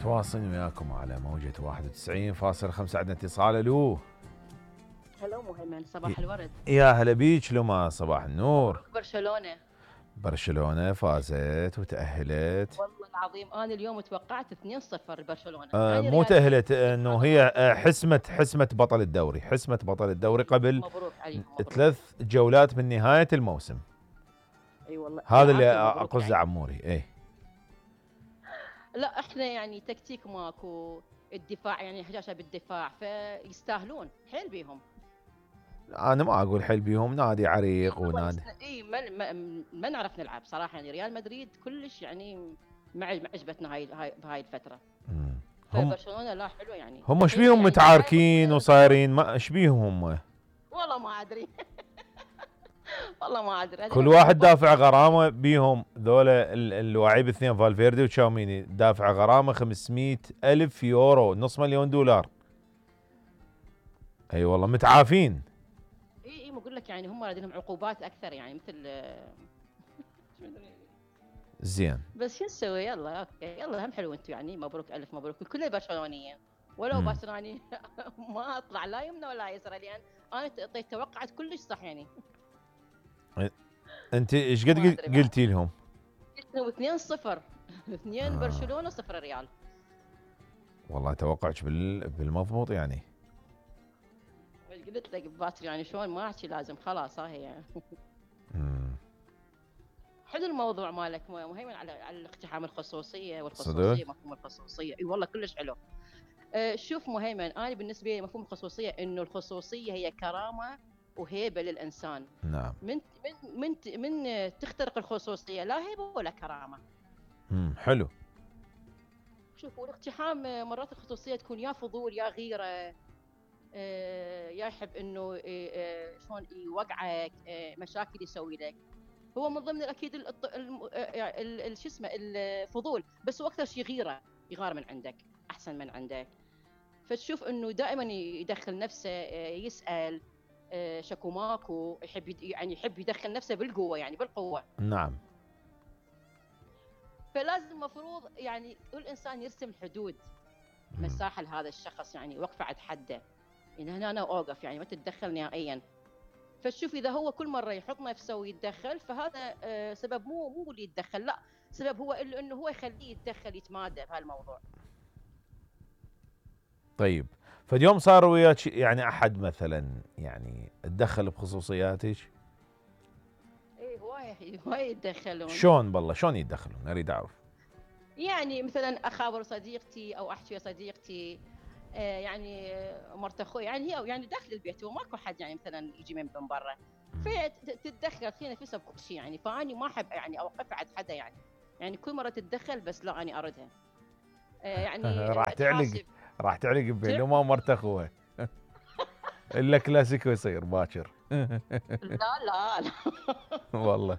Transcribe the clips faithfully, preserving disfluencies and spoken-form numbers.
تواصل وياكم على موجة واحد وتسعين فاصلة خمسة. عندنا اتصال. الو. هلو مهيمن، صباح الورد. يا هلا بيك لما. صباح النور. برشلونة برشلونة فازت وتأهلت. والله العظيم انا اليوم توقعت اثنين صفر لبرشلونة. آه يعني مو ريال تأهلت، انه هي آه حسمت حسمت بطل الدوري، حسمت بطل الدوري قبل مبروك عليهم. مبروك. ثلاث جولات من نهاية الموسم. اي والله هذا اللي اقصده عموري. ايه لا احنا يعني تكتيك ماكو، الدفاع يعني حجاجة بالدفاع، فيستاهلون حيل بيهم. انا ما اقول حيل بيهم، نادي عريق ونادي اي ما, ما, ما نعرف نلعب صراحة. يعني ريال مدريد كلش يعني ما عجبتنا هاي هاي بهاي الفترة. هم برشلونة لا حلوة يعني. هم ايش بيهم متعاركين وصايرين؟ ما ايش بيهم هم؟ والله ما ادري. والله ما ادري. كل واحد دافع غرامه بيهم ذولا اللاعب الاثنين فالفيردي وتشاوميني، دافع غرامه خمسمئة ألف يورو، نص مليون دولار. اي والله متعافين. اي اي بقول لك يعني هم لديهم عقوبات اكثر يعني مثل زين. بس شو نسوي؟ يلا اوكي يلا هم حلو انتم يعني. مبروك الف مبروك لكل برشلونيين. ولو برشلوني ما اطلع لا يمنى ولا يسرى، لان انا توقعت كلش صح يعني. انت ايش قد قلتي لهم؟ قلت لهم اثنين صفر. اثنين برشلونه صفر ريال. والله توقعك بال... بالمضبوط يعني. قلت لك بباكر يعني شلون ما احكي، لازم خلاص ها هي يعني. حلو الموضوع مالك مهيمن على على الاقتحام الخصوصيه والخصوصيه. مفهوم الخصوصيه اي والله كلش حلو. أه شوف مهيمن، انا بالنسبه لي مفهوم الخصوصيه انه الخصوصيه هي كرامه وهيبه للانسان. نعم. من من من من تخترق الخصوصيه لا هيبه ولا كرامه. امم حلو. شوف والاقتحام مرات الخصوصيه تكون يا فضول يا غيره، أه يا يحب انه أه شلون يوقعك، أه مشاكل يسوي لك. هو من ضمن اكيد شو اسمه الفضول، بس هو اكثر شيء غيره، يغار من عندك احسن من عندك. فتشوف انه دائما يدخل نفسه، يسال شكو ماكو، يحب يعني يحب يدخل نفسه بالقوه يعني بالقوه. نعم. فلازم مفروض يعني كل انسان يرسم حدود مساحه لهذا الشخص، يعني وقفه عند حده، يعني هنا انا اوقف يعني ما تتدخل نهائيا. فتشوف اذا هو كل مره يحط نفسه ويتدخل، فهذا سبب مو مو اللي يتدخل، لا سبب هو انه هو يخليه يتدخل يتمادى بهالموضوع. طيب فاليوم صار وياك يعني احد مثلا يعني تدخل بخصوصياتك؟ ايه هواي هواي يتدخلون. شلون بالله شلون يتدخلون؟ اريد اعرف. يعني مثلا اخابر صديقتي او احكي صديقتي، آه يعني مرت اخوي يعني هي يعني داخل البيت وماكو حد يعني مثلا يجي من برا، فتتدخل في نفسها بكل شيء يعني. فاني ما احب يعني اوقف عند حدا يعني، يعني كل مره تتدخل بس لا اني اردها. آه يعني راح تعلق راح تعلق بينه ما مرت اخوه. الا كلاسيكو يصير باكر. لا لا لا والله.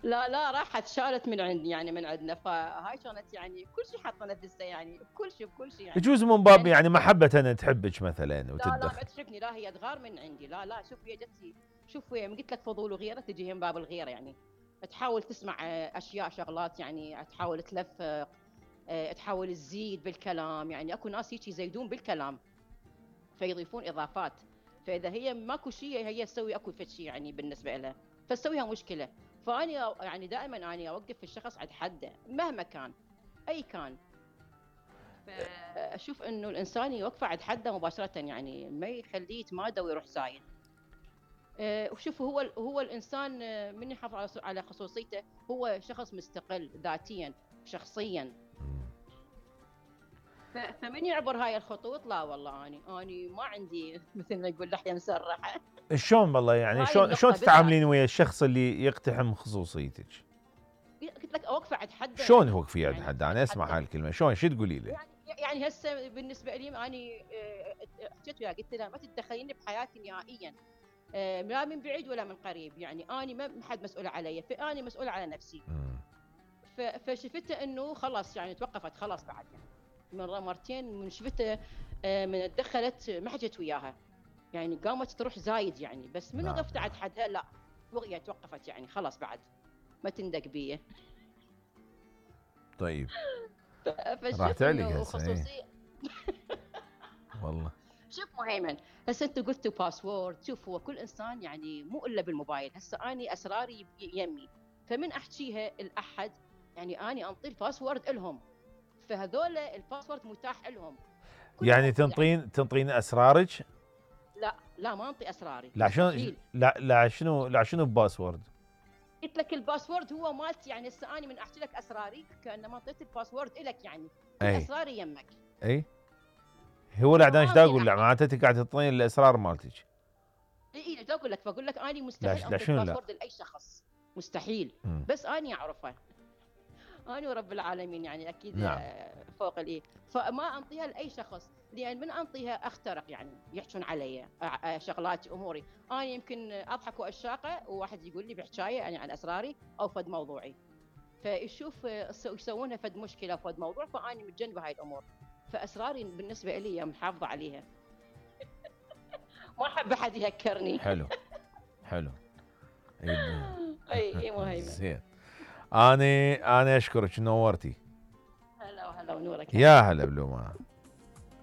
لا لا راحت شالت من عندي يعني من عندنا، فهاي كانت يعني كل شيء حاطه نفسها يعني بكل شيء بكل شيء يعني. يجوز من باب يعني, يعني محبه أنا تحبك مثلا وتتدخل. لا لا ما تحبني، لا هي تغار من عندي. لا لا شوف هي جتي، شوف هي قلت لك فضول وغيره تجي من باب الغيره يعني. تحاول تسمع اشياء شغلات يعني، تحاول تلفق، تحاول تزيد بالكلام يعني. اكو ناس هيك يزيدون بالكلام فيضيفون اضافات، فاذا هي ماكو شيء هي تسوي اكو شيء يعني بالنسبه لها فتسويها مشكله. فاني يعني دائما اني اوقف الشخص عند حده مهما كان اي كان. فاشوف انه الانسان يوقف عند حده مباشره يعني، ما يخليه يتمادى ويروح زايد. أه وشوف هو هو الانسان من يحافظ على خصوصيته هو شخص مستقل ذاتيا شخصيا. فمن يعبر هاي الخطوط لا والله اني اني ما عندي مثل ما يقول لحيه مسرحه. شلون والله يعني شلون شلون تتعاملين ويا الشخص اللي يقتحم خصوصيتك؟ قلت لك اوقف عند حد. شلون توقفي عند حد؟ انا اسمع هاي الكلمه شلون شو تقولي له؟ يعني يعني هسه بالنسبه لي اني حكيت وياه قلت له ما تتدخلين بحياتي نهائيا، لا من بعيد ولا من قريب يعني. اني ما حد مسؤول علي، فاني مسؤوله على نفسي. فشفته انه خلاص يعني توقفت خلاص بعد يعني مرة مرتين من شفته من دخلت ما حكيت وياها يعني، قامت تروح زايد يعني. بس من وقفت عند حدها لا وقعت توقفت يعني خلاص بعد ما تندق بيه. طيب ف فشوف راح تعلق إنه هسه إيه. خصوصية. والله شوف مهيمن، هسه انتم قلتوا باسورد، شوف هو كل انسان يعني مو الا بالموبايل، هسه اني اسراري يمي، فمن احكيها الاحد يعني اني انطي الباسورد لهم، فهذول الباسورد متاح لهم. يعني تنطين تنطين اسرارك؟ لا لا ما انطي اسراري، لا شنو مستحيل. لا لا شنو لا شنو باسورد؟ قلت لك الباسورد هو مالتي، يعني هسه اني من احكي لك اسراري كانما اعطيت الباسورد لك، يعني كل اي اسراري يمك. اي هو لا ايش ما اقول؟ لا معناته انت قاعد تعطيني الاسرار مالتك. اي اي اقول لك، بقول لك اني لا مستحيل لا انطي شنو لا؟ الباسورد لاي شخص، مستحيل. مم. بس اني اعرفه، أنا ورب العالمين يعني أكيد. نعم. فوق الإيه، فما أنطيها لأي شخص، لأن من أنطيها أخترق، يعني يحجون علي شغلاتي أموري. أنا يمكن أضحك وأشاقة وواحد يقول لي بحكاية يعني عن أسراري أو فد موضوعي، فيشوف يسوونها فد مشكلة فد موضوع، فأنا متجنبة هاي الأمور، فأسراري بالنسبة لي محافظة عليها. ما أحب أحد يهكرني. حلو حلو. اي اي مهيمن. زين. اني انا اشكرك، نورتي. هلا وهلا ونورك. يا هلا بلومه.